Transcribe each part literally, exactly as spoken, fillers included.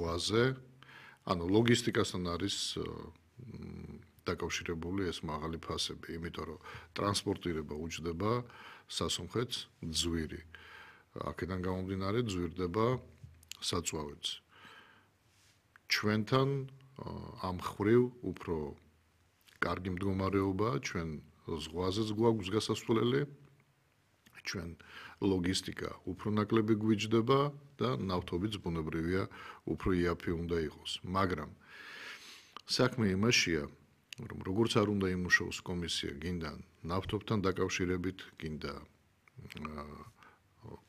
ზღვაზე, ანუ ლოგისტიკასთან არის დაკავშირებული ეს მაღალი ფასები, იმიტომ რომ ტრანსპორტირება უჯდება სასუნხეთს ძვირი. აქედან გამომდინარე ძვირდება საწვავიც. ჩვენთან ამ ხრივ უფრო კარგი მდგომარეობაა, ჩვენ ზღვაზეც გვაქვს გასასვლელი, ჩვენ ლოგისტიკა უფრო ნაკლები გვიჯდება და ნავთობიც ბუნებრივია უფრო იაფი უნდა იყოს. მაგრამ საქმე იმაშია, რომ როგორც არ უნდა იმუშაოს კომისია გინდა ნავთობთან დაკავშირებით, გინდა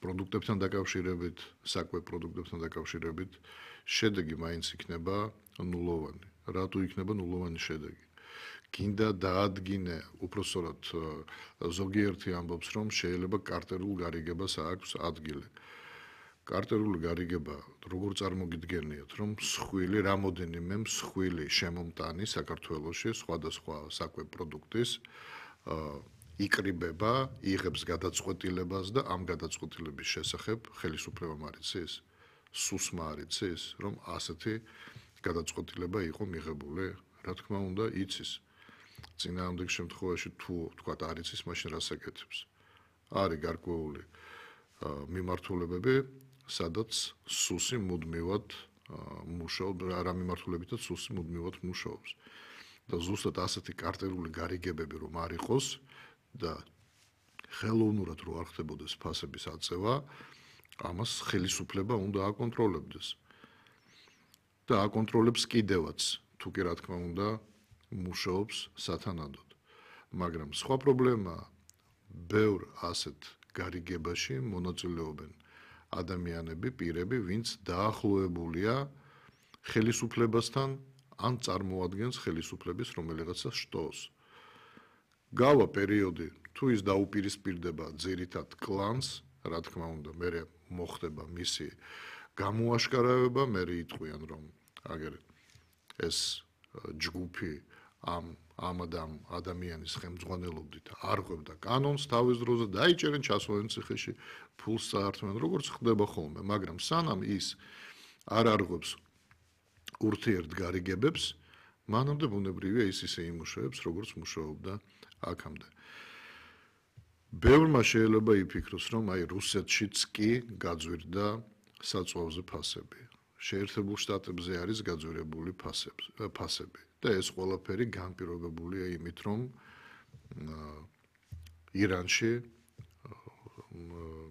პროდუქტებთან დაკავშირებით, საკვე პროდუქტებთან დაკავშირებით, შედეგი მაინც იქნება ნულოვანი. რატო იქნება ნულოვანი შედეგი? გინდა დაადგინე, უпроსორად ზოგიერთი ამბობს, რომ შეიძლება კარტერულ გარიგებას აქვს ადგილი. კარტერული გარიგება როგორ წარმოგიდგენიათ, რომ მსხვილი, რამოდენიმე მსხვილი შემომტანი საქართველოში სხვადასხვა საკვე პროდუქტის იკრიბება, იღებს გადაწყვეტილებას და ამ გადაწყვეტილების შესახებ ხელისუფლება მარიცის, სუსმა არიცის, რომ ასეთი გადაწყვეტილება იყო მიღებული, რა თქმა უნდა, იცის. წინააღმდეგ შემთხვევაში თუ თქვა არ იცის, მაშინ რას აკეთებს? არის გარკვეული მიმართულებები, სადაც სუსი მუდმივად მუშაობს, რა მიმართულებითაც სუსი მუდმივად მუშაობს. და ზუსტად ასეთი კარტერული გარიგებები რომ არ იყოს და ხელოვნურად რო არ ხდებოდეს ფასების აწევა, ამას ხელისუფლება უნდა აკონტროლებდეს. და აკონტროლებს კიდევაც, თუ კი რა თქმა უნდა, მუშაობს სათანადოდ. მაგრამ სხვა პრობლემაა, ბევრ ასეთ გარიგებაში მონაწილეობენ ადამიანები, პირები, ვინც დაახლოებულია ხელისუფლებასთან ან წარმოადგენს ხელისუფლების რომელიღაცა შტოს. გავა პერიოდი, თუ ის დაუპირისპირდება ძირითად კლანს, რა თქმა უნდა, მერე მოხდება მისი გამოაშკარავება, მერე იტყვიან, რომ აგერ ეს ჯგუფი ამ ამ ადამიანის ხელმძღვანელობით არ ყვებდა კანონს თავის დროზე, დაიჭერენ ჩასვლენ ციხეში, ფულს წაართმევენ, როგორც ხდება ხოლმე, მაგრამ სანამ ის არ არღვევს ურთიერთ გარიგებებს, მანამდე ბუნებრივია ის ისე იმუშავებს, როგორც მუშაობდა აქამდე. ბევრმა შეიძლება იფიქროს, რომ აი რუსეთშიც კი გაძვირდა საწვავზე ფასები. შეერთებულ შტატებზე არის გაძვირებული ფასები და ეს ყველაფერი განპირობებულია იმით, რომ ირანში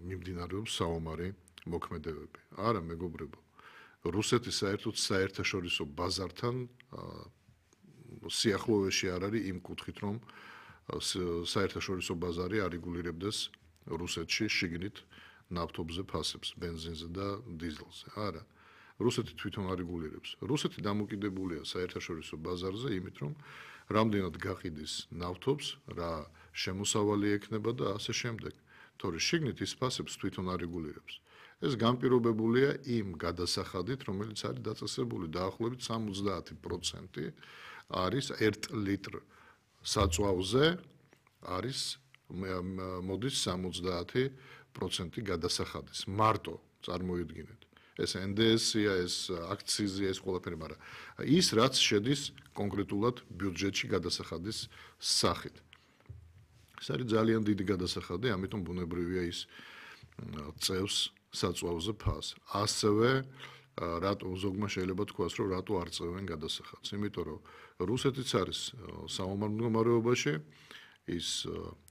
მიმდინარეობს საომარი მოქმედებები. არა, მეგობრებო, რუსეთი საერთოდ საერთაშორისო ბაზართან სიახლოვეში არ არის იმ კუთხით, რომ საერთაშორისო ბაზარი არეგულირებდეს რუსეთში შიგნით ნავთობზე ფასებს, ბენზინზე და დიზელზე. არა. რუსეთი თვითონ არეგულირებს. რუსეთი დამოკიდებულია საერთაშორისო ბაზარზე, იმით რომ რამდენად გაყიდის ნავთობს, რა შემოსავალი ექნება და ასე შემდეგ. თორე შიგნით ის ფასებს თვითონ არეგულირებს. ეს განპირობებულია იმ გადასახადით, რომელიც არის დაწესებული დაახლოებით სამოცდაათი პროცენტი არის ერთ ლიტრ საწვავზე არის მოდის სამოცდაათი პროცენტი გადასახადის. მარტო წარმოიდგინეთ. ეს ენ დე ესი-ია, ეს აქციზია, ეს ყველაფერი, მაგრამ ის რაც შედის კონკრეტულად ბიუჯეტში გადასახადის სახით. ეს არის ძალიან დიდი გადასახადი, ამიტომ ბუნებრივია ის წევს საწვავზე ფას. ასევე რატო ზოგმა შეიძლება თქვას, რომ რატო არ წევენ გადასახადს? იმიტომ რომ რუსეთიც არის საომარ მდგომარეობაში, ის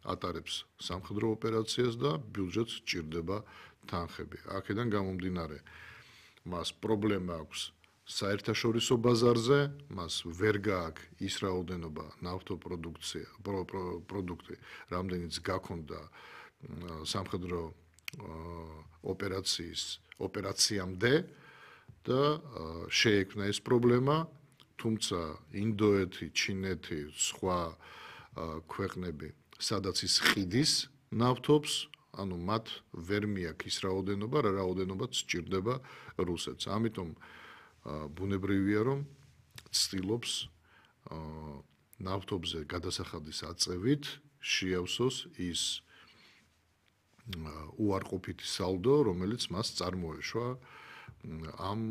ატარებს სამხედრო ოპერაციას და ბიუჯეტს ჭირდება თანხები. აქედან გამომდინარე, მას პრობლემა აქვს საერთაშორისო ბაზარზე, მას ვერ გააქვს ის რაოდენობა ნავთობპროდუქცია, პროდუქტი, რამდენიც გაქონდა სამხედრო ოპერაციის ოპერაციამდე და შეექმნა ეს პრობლემა, თუმცა ინდოეთი, ჩინეთი, სხვა ქვეყნები, სადაც ის ყიდის ნავთობს, ანუ მათ ვერ მიაქვს ის რაოდენობა, რა რაოდენობაც სჭირდება რუსეთს. ამიტომ ბუნებრივია, რომ ცდილობს ნავთობზე გადასახადის აწევით შეავსოს ის უარყოფითი სალდო, რომელიც მას წარმოეშვა ამ